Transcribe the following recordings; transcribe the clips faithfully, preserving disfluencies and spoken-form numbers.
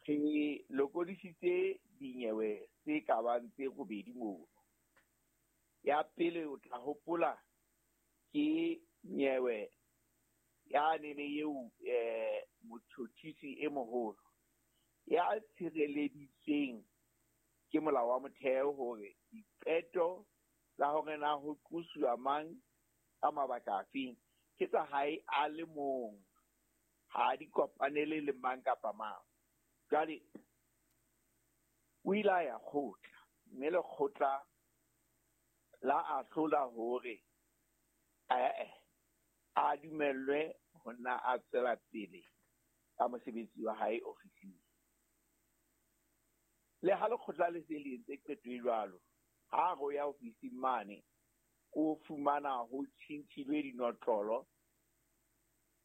Re lokodisitse dinyewe tse ka bang tse robedi mono. Ya pele o tla hopola ke nyewe ya nene eo eh motjhotjhisi e moholo ya tshireleditsweng ke molao wa motheo hore diqeto tsa hore na ho qosuwa mang ka mabaka afeng ke tsa hae a le mong, ha di kopanele le mang kapa mang. Jwale o ile a ya kgotla, mme lekgotla la ahlola hore eh a dumellwe ho nna a tswela pele ka mosebetsi wa hae ofising. Le ha lekgotla le se le entse qeto e jwalo, ha re o ya ofising mane o fumana ho tjhintjhilwe dinotlolo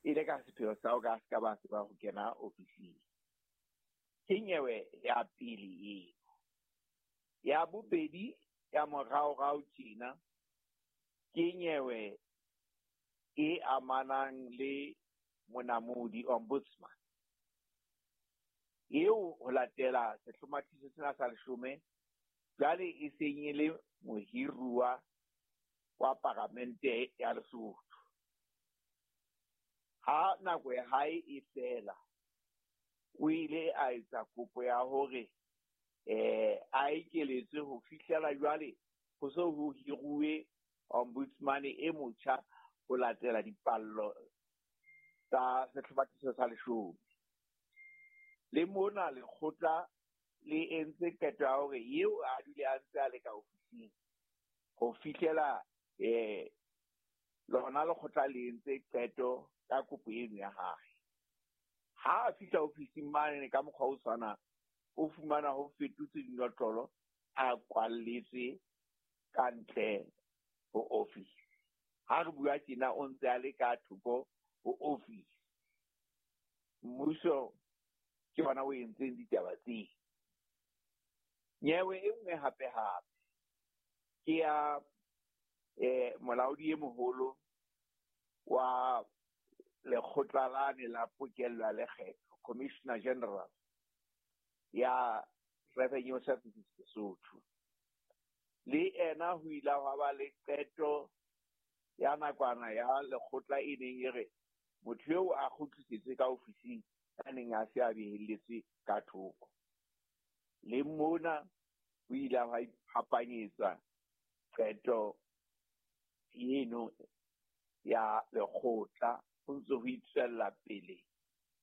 e le ka sepheo sa ho ka se ka ba tseba ho kena ofising. Ke nyewe ya pele eo. Ya bobedi ya moraorao tjena ke nyewe e amanang le monamodi ombudsman eo ho latela sehlomathiso sena sa leshome jwale e seng e le mohiruwa wa paramente ya Lesotho. Ha nako ya hae e fela, o ile a etsa kopo ya hore eh a ekeletswe ho fihlela jwale ho so ho hiruwe ombudsman e motjha ho latela dipallo tsa sehlomathiso sa leshome. Le mona lekgotla le entse qeto ya hore eo a dule a ntse a le ka ofising ho fihlela eh lona lekgotla le entse qeto ka kopo eno ya hae. Ha a fihla ofising mane ka mokgwa o tshwanang, o fumana ho fetotse dinotlolo, a kwalletswe ka ntle ho ofisi. Ha re bua tjena o ntse a le ka thoko ho ofisi. Mmuso ke ona o entseng ditaba tseo. Nyewe e nngwe hape hape ke ya eh molaodi e moholo wa lekgotla lane la pokello ya lekgetho, Commissioner General ya Revenue Services Lesotho. Le ena ho ile hwa ba le qeto ya nakwana ya lekgotla e neng e re motho eo a kgutlisetswe ka ofising a neng a se a behelletswe ka thoko. Le mona ho ile hwa iphapanyetswa qeto eno ya lekgotla, ho ntse ho itswella pele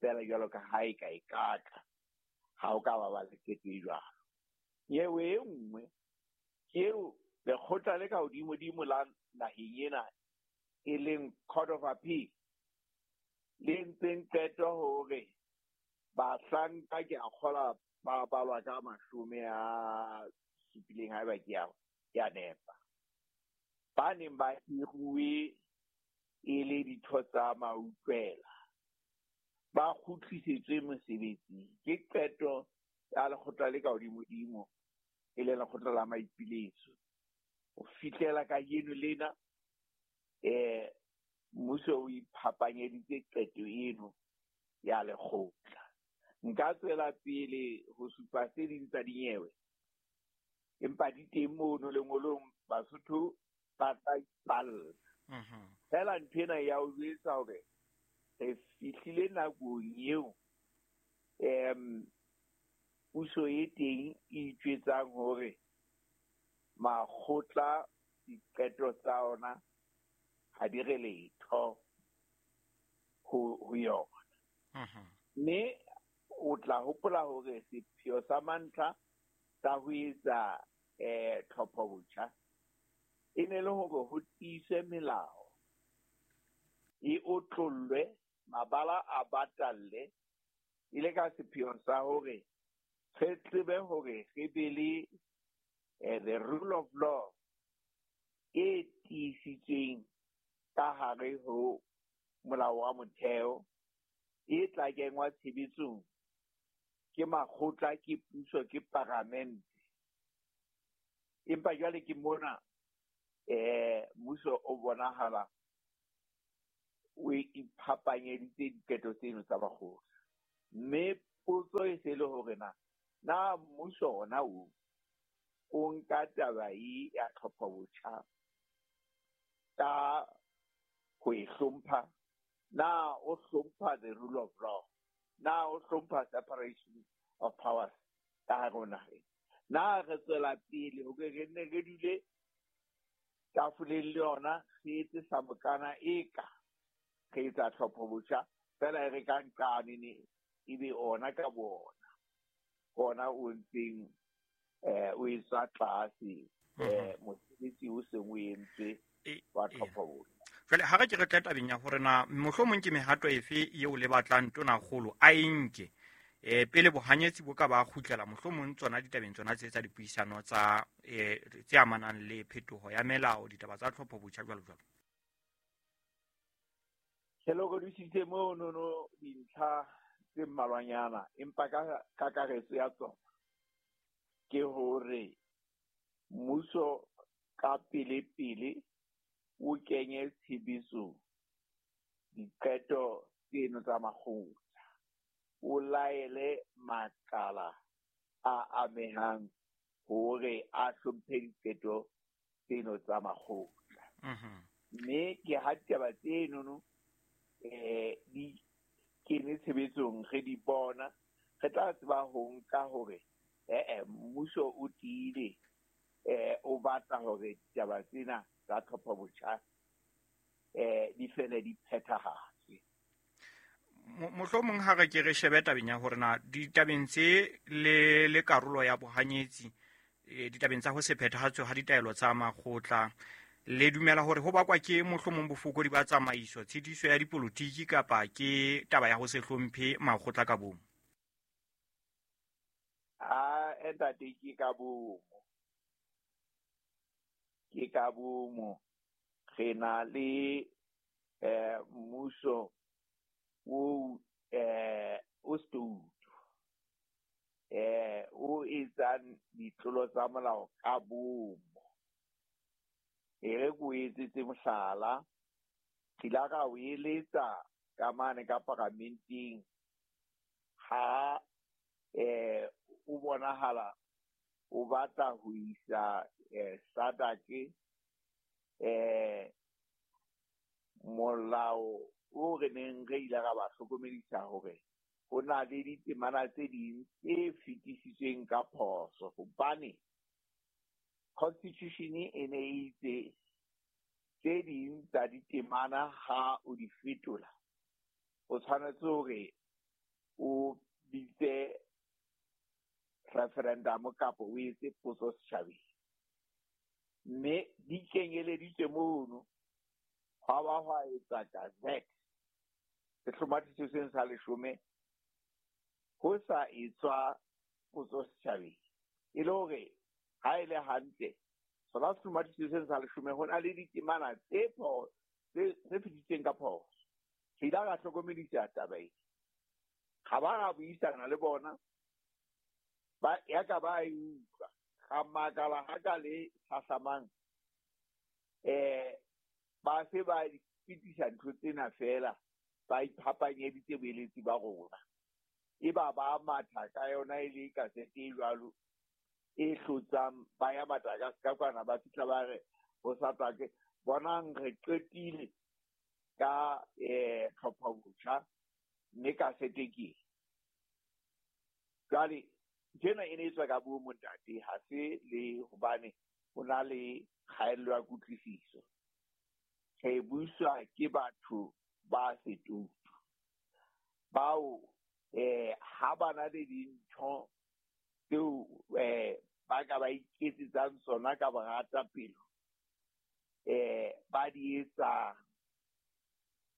fela jwalo ka ha e ka e katla ha o ka ba ba le qeto e jwalo. Nyewe e nngwe ke eo lekgotla le ka hodimodimo la naheng ena e leng Court of Appeal le entseng qeto hore bahlanka ke a kgola ba balwa ka mashome a supileng haeba ke a ke a nepa, ba neng ba hiruwe e le ditho tsa mautlwela ba kgutlisetswe mosebetsing. Ke qeto ya lekgotla le ka hodimodimo e leng lekgotla la maipiletso. Ho fihlela kajeno lena eh mmuso o iphapanyeditse qeto eno ya lekgotla. Nka tswela pele ho supa tse ding tsa dinyewe, empa di teng mono lengolong, Basotho ba tla ipalla. Fela ntho ena ya o jwetsa hore re fihlile nakong eo em puso e teng e itjwetsang hore makgotla diqeto tsa ona ha di re letho ho ho yona. Mme o tla hopola hore sepheo sa mantlha sa ho etsa eh tlhopho botjha e ne le hore ho tiiswe melao, e otlollwe, mabala a batalle, e le ka sepheo sa hore re tsebe hore re be le the rule of law e tiisitsweng ka hare ho molao wa motheo e tla kenngwa tshebetsong ke makgotla, ke puso, ke paramente. Empa jwale ke mona eh mmuso o bonahala o iphapanyeditse diqeto tseno tsa bakgotla. Mme potso e se le hore na na mmuso ona o o nka taba e ya tlhopho-botjha ka ho e hlompha, na o hlompha the rule of law, na o hlompha separation of powers ka hare ho naha ena. Na re tswela pele hore re nne re dule tafoleng le yona, re etse sa mokana eka re etsa tlhopho-botjha fela e re ka nqane ne ebe ona ka bona ona o ntseng eh o etswa tlase eh mosebetsi o seng o entswe wa tlhopho-botjha. Jwale ha re ke re tle tabeng ya hore na mohlomong ke mehato efe eo le batlang Tonakgolo a e nke eh pele bohanyetsi bo ka ba kgutlela mohlomong tsona ditabeng tsona tse tsa dipuisano tsa eh tse amanang le phetoho ya melao, ditaba tsa tlhopho-botjha jwalo jwalo. Ke lokodisitse mono dintlha tse mmalwanyana, empa ka kakaretso ya tsona ke hore mmuso ka pele-pele o kenye tshebetsong diqeto tseno tsa makgotla, o laele makala a amehang hore a hlomphe diqeto tseno tsa makgotla. Mme ke ha ditaba tsenono eh di kene tshebetsong re di bona, re tla tseba ho nka hore eh mmuso o tiile eh o batla hore ditaba tsena tsa tlhopho-botjha eh di fele di phethahatswe. Mohlomong ha re ke re shebe tabeng ya hore na ditabeng tse le le karolo ya bohanyetsi ditabeng tsa ho se phethahatswe ha ditaelo tsa makgotla, le dumela hore ho bakwa ke mohlomong bofokodi ba tsamaiso, tshitiso ya dipolotiki kapa ke taba ya ho se hlomphe makgotla ka bomo? A ntate, ke ka bomo, ke ka bomo. Re na le eh mmuso o eh o stoutu eh o etsang ditlolo tsa molao ka bomo. E re ko etsetse mohlala, re ile ra o eletsa ka mane ka paramenteng ha eh o bonahala o batla ho isa eh SADC eh molao o re neng re ile ra ba hlokomedisa hore ho na le ditemana tse ding tse fetisitsweng ka phoso, hobane constitution e ne e itse tse ding tsa ditemana ha o di fetola o tshwanetse hore o bitse referendum kapa o etse potso setjhabeng, mme di kenyeleditswe mono. Hwa ba hwa etsa gazette sehlomathiso seng sa leshome ho sa etswa potso setjhabeng, e le hore ha e le hantle sona sehlomathiso seng sa leshome ho na le ditemana tse tse fetisitsweng ka phoso. Re ile ra hlokomedisa taba ena, ha ba ra buisana le bona, ba ya ka ba e utlwa. Ra makala ha ka le hlahlamang eh ba se ba fetisa ntho tsena fela, ba iphapanyeditse boeletsi ba rona, e ba ba matha ka yona e le kasete e jwalo e hlotsang, ba ya Madagascar kwana, ba fihla ba re ho sa tlake bonang re qetile ka eh tlhopho-botjha mme kasete ke jwale. Tsena e ne e tswa ka bomo ntate, ha se le hobane ho na le kgaello ya kutlwisiso. Re buswa ke batho ba setoutu bao eh ha ba na le dintho tseo eh ba ka ba iketsetsang tsona ka borata pelo eh ba di etsang.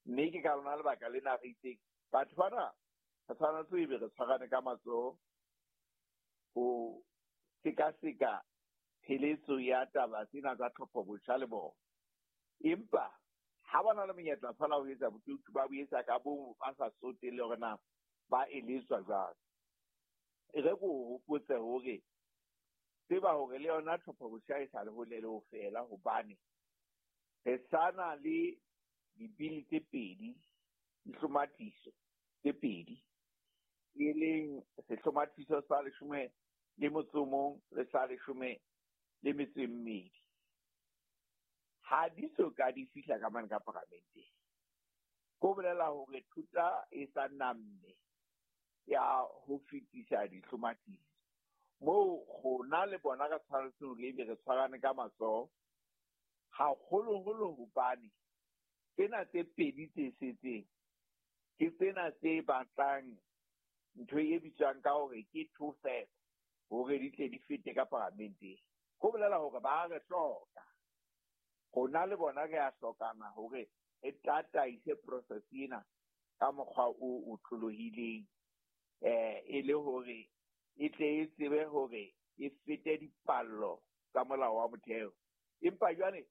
Mme ke ka lona lebaka lena re itseng batho bana re tshwanetse ebe re tshwarane ka matsoho ho sekaseka pheletso ya taba tsena tsa tlhopho-botjha le bona. Empa ha ba na le monyetla fela ho etsa botoutu, ba bo etsa ka bomo, ba sa tsotelle hore na ba eletswa jwang. E re ko hopotse hore tseba hore le yona tlhopho-botjha e sa le hole le ho fela, hobane re sa na le dibili tse pedi, dihlomathiso tse pedi E leng sehlomathiso sa leshome le motso o mong le sa leshome le metso e mmedi. Ha di so ka di fihla ka mane ka paramenteng. Ko bolela hore thuta e sa namme ya ho fetisa dihlomathiso. Moo rona le bona re tshwanetse hore ebe re tshwarane ka matsoho, haholoholo hobane tsena tse pedi tse setseng ke tsena tse batlang ntho e bitswang ka hore ke two thirds hore di tle di fete ka paramenteng. Ho bolela hore ba re hloka. Rona le bona re a hlokana hore re tataise process ena ka mokgwa o otlolohileng, eh e le hore e tle e tsebe hore e fete dipallo tsa molao wa motheo. Empa jwale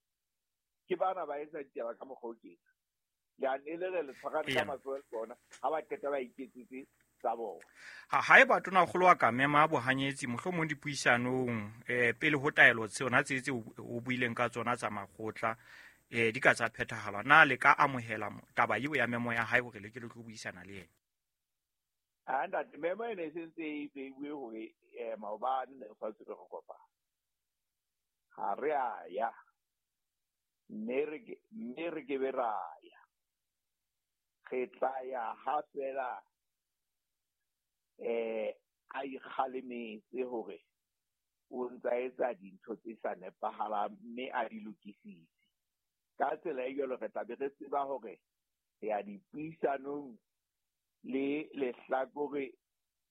ke bana ba etsa ditaba ka mokgwa o tjena. Leano e le re le tshwarane ka matsoho le bona, ha ba qeta ba iketsetse tsa bona. Ha haeba tonakgolo a ka mema bohanyetsi mohlomong dipuisanong eh pele ho taelo tsona tse tse o buileng ka tsona tsa makgotla eh di ka tsa phethahala, na le ka amohela taba eo ya memo ya hae hore le ke le tlo buisana le yena? A ntate, memo e ne e sentse e beiwe hore eh maobane ne re tshwanetse re kopana. Ha re a ya, mme re ke, mme re ke be ra ya. Re tla ya ha fela eh a ikgalemetse hore o ntsa etsa dintho tse sa nepahalang mme a di lokisitse. Ka tsela e jwalo re tla be re tseba hore re ya dipuisanong le lehlakore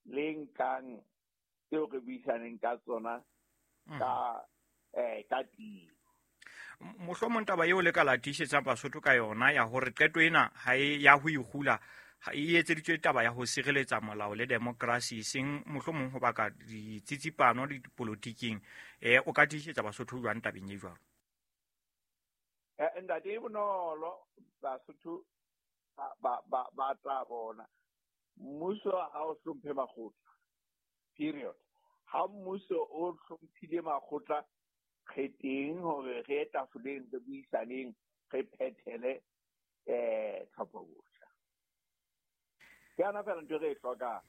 le nkang tseo re buisaneng ka tsona ka eh ka tiyo. Mohlomong taba eo le ka la tiisetsang Basotho ka yona ya hore qeto ena ha e ya ho ikgula ha e etseditswe taba ya ho sireletsa molao le demokrasi, eseng mohlomong ho baka ditsitsipano le dipolotiking, eh o ka tiisetsa Basotho jwang tabeng e jwalo? Eh ntate, e bonolo, Basotho ba ba ba tla bona mmuso ha o hlomphe makgotla, period. Ha mmuso o hlomphile makgotla, re teng hore re ye tafoleng, re buisaneng, re phethele eh tlhopho botjha. Ke yona feela ntho e re e hlokang.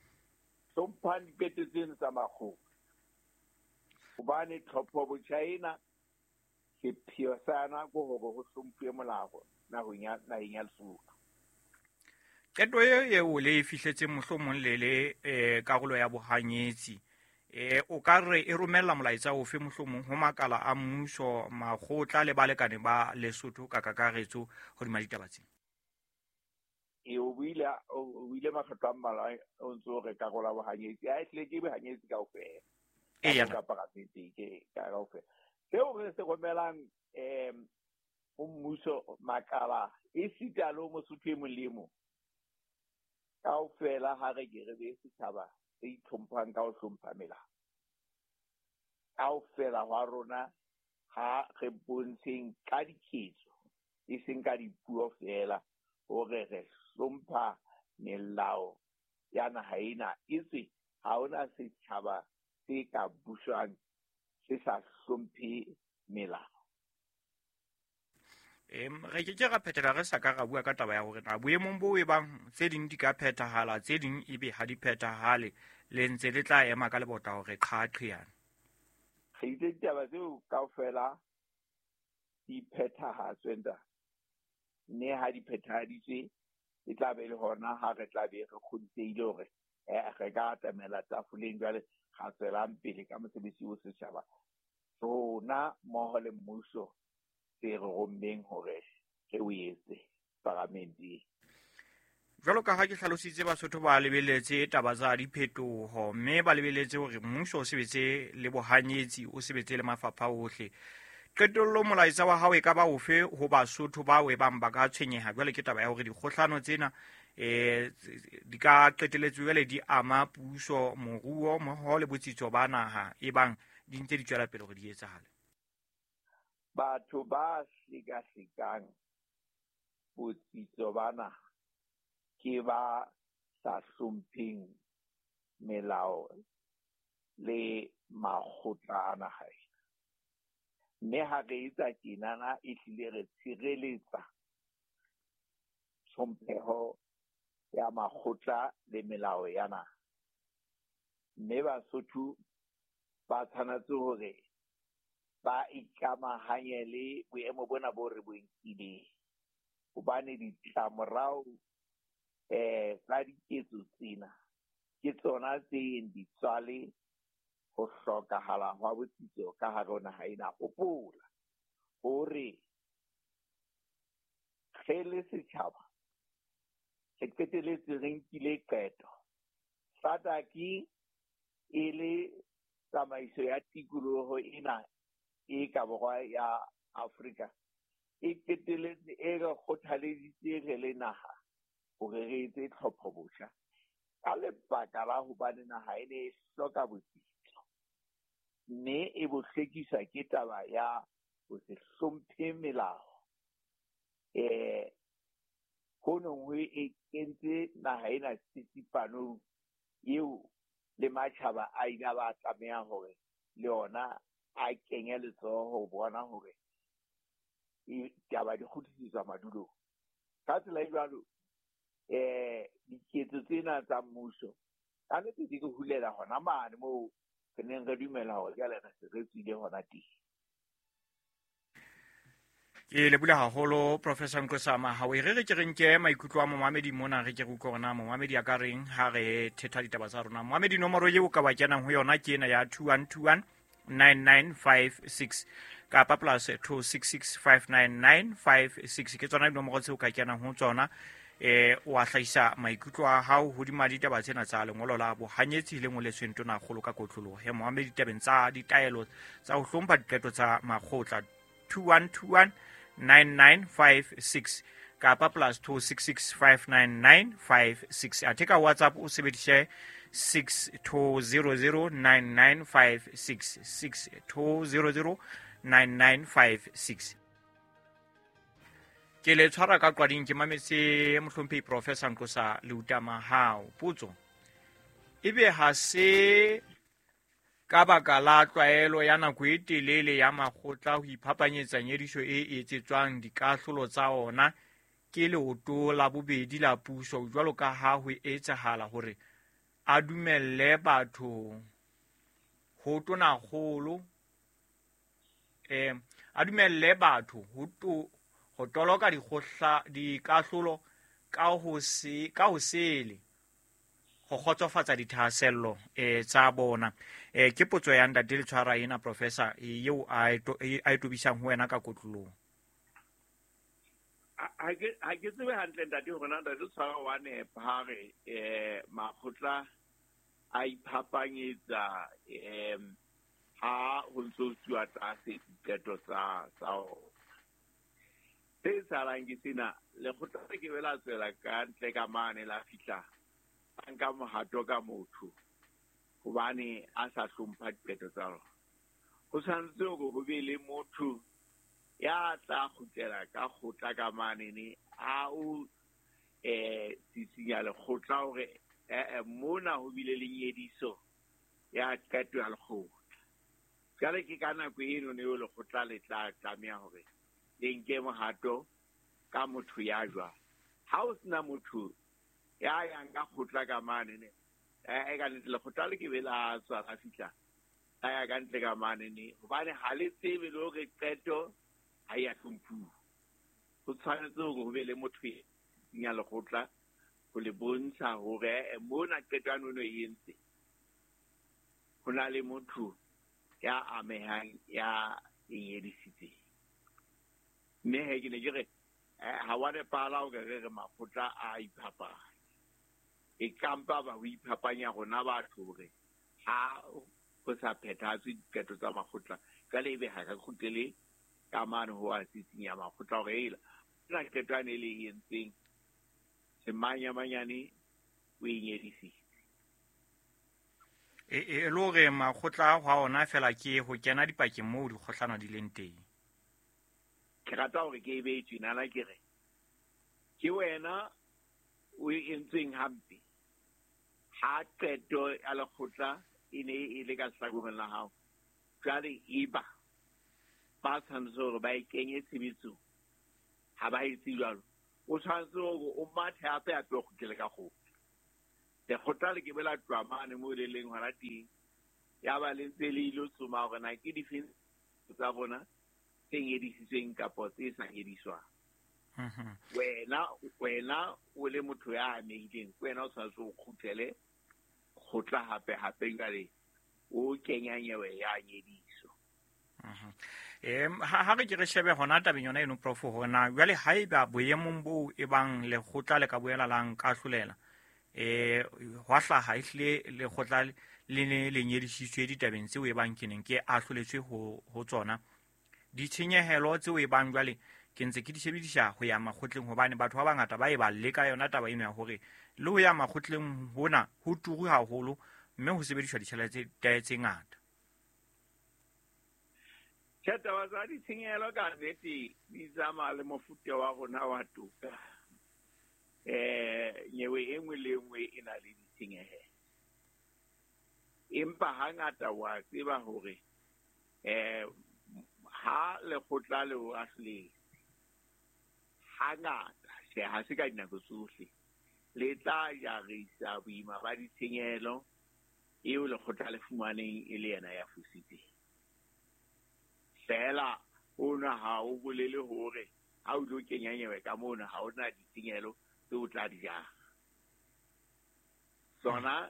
Hlomphang diqeto tseno tsa makgotla, hobane tlhopho botjha ena sepheo sa yona ke hore ho hlomphuwe molao naheng ya, naheng ya Lesotho. Qeto e eo le e fihletseng mohlomong le le eh karolo ya bohanyetsi, eh o ka re e romella molaetsa ofe mohlomong ho makala a mmuso, makgotla le balekane ba Lesotho ka kakaretso hodima ditaba tsena? E o buile, o buile makgetlo a mmalwa o ntso re karolo ya bohanyetsi, ha e hlile ke bohanyetsi kaofela. Eya. Ka paramenteng ke ka kaofela. Seo re se romelang em ho mmuso, makala esita le ho Mosotho e mong le e mong, kaofela ha re ke re be setjhaba se itlhomphang ka ho hlompha melao. Kaofela hwa rona ha re bontsheng ka diketso, e seng ka dipuo feela, hore re hlompha melao ya naha ena. Etswe ha hona setjhaba se ka buswang se sa hlomphe melao. Em re ke ke ra phethela re sa ka ra bua ka taba ya hore na boemong bo e bang tse ding di ka phethahala, tse ding ebe ha di phethahale, le ntse le tla ema ka lebota hore qhaqheyana. Re itse ditaba tseo kaofela di phethahatswe ntate, mme ha di phethahaditswe e tla be le hona ha re tla be re kgodisehile hore eh re ka atamela tafoleng jwale ra tswelang pele ka mosebetsi o setjhaba rona mmoho le mmuso se re rommeng hore re o etse paramenteng. Jwalo ka ha ke hlalositse, Basotho ba lebeletse taba tsa diphetoho, mme ba lebeletse hore mmuso o sebetse le bohanyetsi, o sebetse le mafapha ohle. Qetellong molaetsa wa hao e ka ba ofe ho Basotho bao e bang ba ka tshwenyeha jwale ke taba ya hore dikgohlano tsena eh di ka qeteletse jwale di ama puso, moruo mmoho le botsitso ba naha e bang di ntse di tswela pele hore di etsahale? Batho ba hlekahlekang botsitso ba naha ke ba sa hlompheng melao le makgotla a naha ena. Mme ha re etsa tjenana, ehlile re tshireletsa tlhompheho ya makgotla le melao ya naha. Mme Basotho ba tshwanetse hore ba ikamahanye le boemo bona bo re bo nkileng. Hobane ditlamorao eh tsa diketso tsena ke tsona tse yeng di tswale ho hlokahala hwa botsitso ka hare ho naha ena. Hopola hore re le setjhaba re qetelletse re nkile qeto. S A D C e le tsamaiso ya tikoloho ena e ka borwa ya Afrika e qetelletse e re kgothaleditse re le naha hore re etse tlhopho botjha ka lebaka la hobane naha e ne e hloka botsitso, mme e bo hlwekiswa ke taba ya ho se hlomphe melao. Eh ho nong ho e kentse naha ena tsitsipanong eo le matjhaba a ile a ba tlameha hore le ona a kenye letsoho ho bona hore taba di kgutlisetswa madulong. Ka tsela e jwalo, eh diketso tsena tsa mmuso ka nnete di re hulela hona mane moo re neng re dumela hore jwale re se re tswile hona teng. Ke lebohile haholo, Professor Nqosa Mahao. E re re ke re nke maikutlo a momamedi mona, re ke re utlwe hore na momamedi a ka reng ha re thetha ditaba tsa rona. Momamedi, nomoro eo ka wa kenang ho yona ke ena ya two one two one nine nine five six kapa plus two six six five nine nine five six. Ke tsona dinomoro tseo ka kenang ho tsona, eh o a hlahisa maikutlo a hao hodima ditaba tsena tsa lengolo la bohanyetsi le ngoletsweng Tonakgolo ka kotloloho ya momamedi tabeng tsa ditaelo tsa ho hlompha diqeto tsa makgotla. two one two one nine nine five six kapa plus two six six five nine nine five six. Athe ka WhatsApp o sebedise six two zero zero nine nine five six, six two zero zero nine nine five six. Ke le tshwara ka qwading, ke mametse mohlomphehi Professor Nqosa Leuta Mahao. Potso ebe ha se ka baka la tlwaelo ya nako e telele ya makgotla ho iphapanyetsa nyediso e etsetswang dikahlolo tsa ona ke leoto la bobedi la puso, jwalo ka ha ho etsahala hore a dumelle batho ho Tonakgolo, eh a dumelle batho ho to ho toloka dikgohla dikahlolo ka ho se ka ho sele ho kgotsofatsa dithahasello eh tsa bona? eh ke potso ya ntate le tshwara ena, Professor, eo a e tobisang ho wena ka kotlolong. Ha ke ha ke tsebe hantle, ntate, hore na ntate tshwara wa nepa ha re eh makgotla a iphapanyetsa em ha ho ntso tsuwa tlase diqeto tsa tsa ona. Se etsahalang ke sena: lekgotla le ke be la tswela ka ntle ka mane, la fihla a nka mohato ka motho hobane a sa hlompha diqeto tsa lona. Ho tshwanetse hore ho be le motho ya tla kgutlela ka kgotla ka manene a o eh sisinya lekgotla hore eh mona ho bile le nyediso ya qeto ya lekgotla. Jwale ke ka nako eno ne lekgotla le tla tlameha hore le nke mohato ka motho ya jwang. Ha o sena motho ya yang ka kgotla ka mane ne, eh ka nnete lekgotla le ke be la tswa la fihla la ya ka ntle ka mane ne, hobane ha le tsebe le hore qeto ha ya hlomphuwa. Ho tshwanetse hore ho be le motho ya lekgotla ho le bontsha hore mona qeto ya nono e entse ho na le motho ya amehang ya e nyedisitseng. Mme he, ke ne ke re ha wa nepahala hore re re makgotla a iphapanya. E kampa ba ho iphapanya rona batho hore ha ho sa phethahatswe diqeto tsa makgotla, jwale ebe ha re kgutlele ka mane ho a sisinya makgotla hore ela na qeto yane e le e entseng semanyamanyane o e nyedisitse. E e le hore makgotla a ona fela ke ho kena dipakeng moo dikgohlano di leng teng. Ke rata hore ke e behe tjenana, ke re ke wena o e entsweng hampe ha qeto ya lekgotla e ne e le ka hlakoreng la hao. Jwale eba ba tshwanetse hore ba e kenye tshebetsong, ha ba etse jwalo, o tshwanetse hore o mathe hape hape o kgutlele ka kgotla. Lekgotla le ke be la tloha mane moo le leng hona teng, ya ba le ntse le ilo tsoma hore na ke difeng tsa bona tse nyedisitsweng kapa tse sa nyediswang. Wena wena o le motho ya amehileng, ke wena o tshwanetse o kgutlele kgotla hape hape jwale o kenya nyewe ya nyediso. Em ha ha re ke re shebe hona tabeng yona eno prof hona jwale haeba boemong bo e bang lekgotla le ka boela la nkahlolela eh hwa hlaha ehlile lekgotla le ne le nyedisitswe ditabeng tseo e bang ke neng ke ahloletswe ho ho tsona, ditshenyehelo tseo e bang jwale ke ntse ke di sebedisa ho ya makgotleng, hobane batho ba bangata ba e ba leka yona taba eno ya hore le ho ya makgotleng hona ho turu haholo mme ho sebediswa ditjhelete tse ngata. Tjhe, taba tsa ditshenyehelo ka nnete di tsamaya le mofuta wa rona wa toka. Eh nyewe e nngwe le nngwe e na le ditshenyehelo, empa hangata wa tseba hore eh ha lekgotla le o ahloletse hangata, tjhe, ha se ka dinako tsohle le tla jarisa boima ba ditshenyehelo eo lekgotla le fumaneng e le yena ya fositseng. Fela ona ha o bolele hore ha o tlo kenya nyewe ka mona ha ona ditshenyehelo tse o tla di jara. Tsona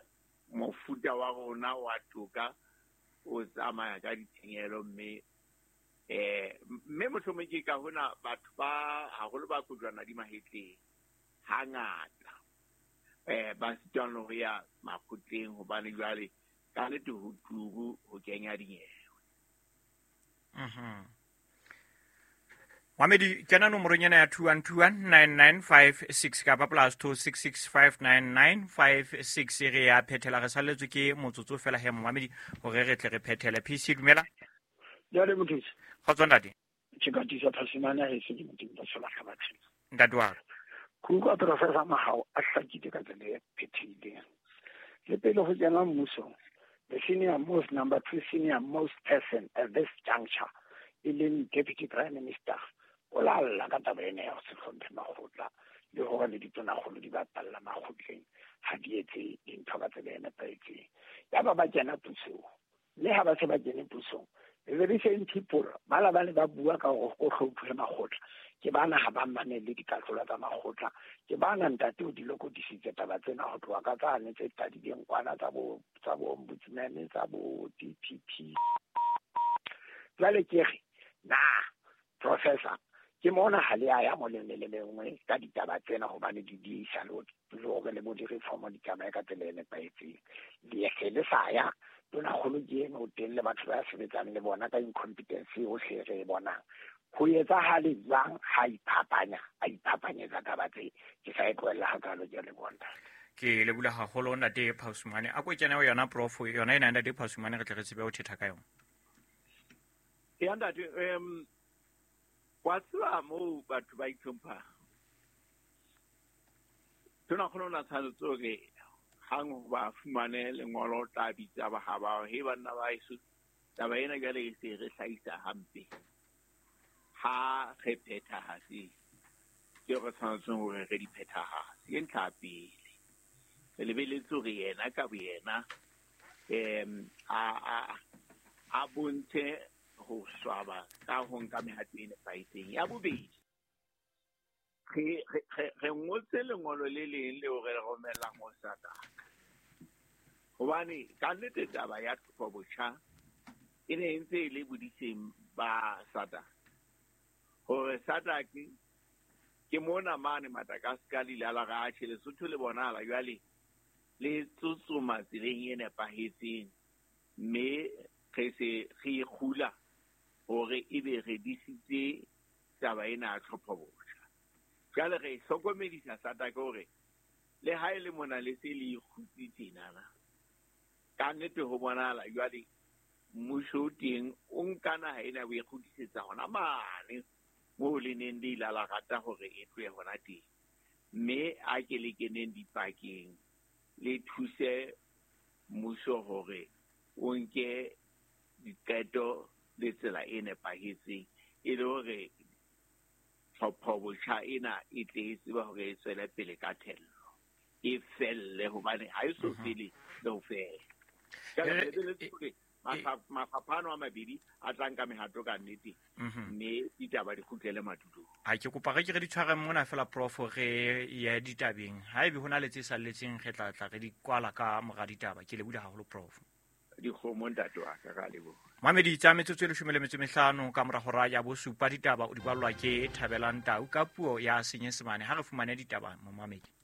mofuta wa rona wa toka o tsamaya ka ditshenyehelo, mme eh mme mohlomong ke ka hona batho ba haholo ba kojwana di mahetleng hangata eh ba sitwang ho ya makgotleng hobane jwale ka nnete ho turu ho kenya dinyewe. Mhm. Mamedi kena nomorong ena ya two one two one nine nine five six kapa plus two six six five nine nine five six. Re ya phethela, re salletswe ke motsotso fela he momamedi hore re tle re phethele. P C dumela. Jwale mothusi. Kgotso ntate. Ke ka tisa Phasimane ha e se ke modimo ba sola ka batho. Ntate wa ka. Ke utlwa Professor Mahao a hlakile ka tsela e phethileng. Le pele ho kena mmusong, the senior most, number two senior most person at this juncture, e leng Deputy Prime Minister, o la lla ka taba ena ya ho se hlomphe makgotla le hore le ditonakgolo di bapalla makgotleng ha di etse dintho ka tsela e nepahetseng. Yaba ba kena pusong, mme ha ba se ba kene pusong, the very same people ba la ba ne ba bua ka hore ho hlomphuwe makgotla, ke bana ha ba mamele dikahlolo tsa makgotla, ke bana ntate o di lokodisitse taba tsena ho tloha ka tsane tse qadileng kwana tsa bo tsa bo ombudsman tsa bo D P P. Jwale ke re na professor ke mona ha le a ya mo le le lengwe ka ditaba tsena hobane di diisa le hore le bo di-reform di tsamaye ka tsela e nepahetseng. Le se le sa ya tonakgolo ke eno o teng le batho ba sebetsang le bona ka incompetence yohle re e bonang. Ho etsahale jwang ha iphapanya a iphapanyetsa taba tse? Ke sa e tlohella hakalo, ke a leboha ntate. Ke leboha haholo ntate Phasumane. A ko kene ho yona prof yona ena ntate Phasumane re tle re tsebe ho thetha ka yona. Ya ntate, em wa tseba moo batho ba itlhomphang. Tonakgolo o na tshwanetse hore hang ho ba fumane lengolo o tla bitsa ba ha ba he banna ba heso, taba ena jwale e se re hlahisa hampe. Ha re phethahatse tseo re tshwanetseng hore re di phethahatse. Ke ntlha ya pele. Re lebeletse hore yena ka boyena em a a a bontshe ho swaba ka ho nka mehato e nepahetseng. Ya bobedi, re re re ngotse lengolo le leng leo re le romellang ho SADC. Hobane ka nnete taba ya tlhopho-botjha e ne e ntse e le bodiseng ba SADC. Hore SADC ke mona mane Madagascar le ile la re atjhe Lesotho le bonahala jwale le tsotsoma tseleng e nepahetseng, mme re se re ikgula hore ebe re disitse taba ena ya tlhopho-botjha. Jwale re hlokomedisa SADC hore le ha e le mona le se le ikgutse tjenana, ka nnete ho bonahala jwale mmuso o teng o nka naha ena o e kgutlisetsa hona mane moo le neng le ile la rata hore e tlohe hona teng. Mme a ke le keneng dipakeng le thuse mmuso hore o nke diqeto le tsela e nepahetseng e le hore tlhopho-botjha ena e tle e tsebe hore e tswele pele ka thello. e felle hobane ha e so fele le ho fela. Jwale re hore mafapha ano a mabedi a tla nka mehato ka nnete, mme ditaba di kgutlele madulong. Ha ke kopa re ke re di tshware mona fela prof re ye ditabeng. Haebe hona le tse salletseng re tla tla re di kwala ka mora ditaba. Ke leboha haholo prof. Dikgomo ntate wa ka, ka leboha. Mamedi tsa metsotso e leshome le metso e mehlano ka mora hora ya bosupa ditaba o di ballwa ke Thabelang Tau ka puo ya Senyesemane. Ha re fumane ditaba momamedi.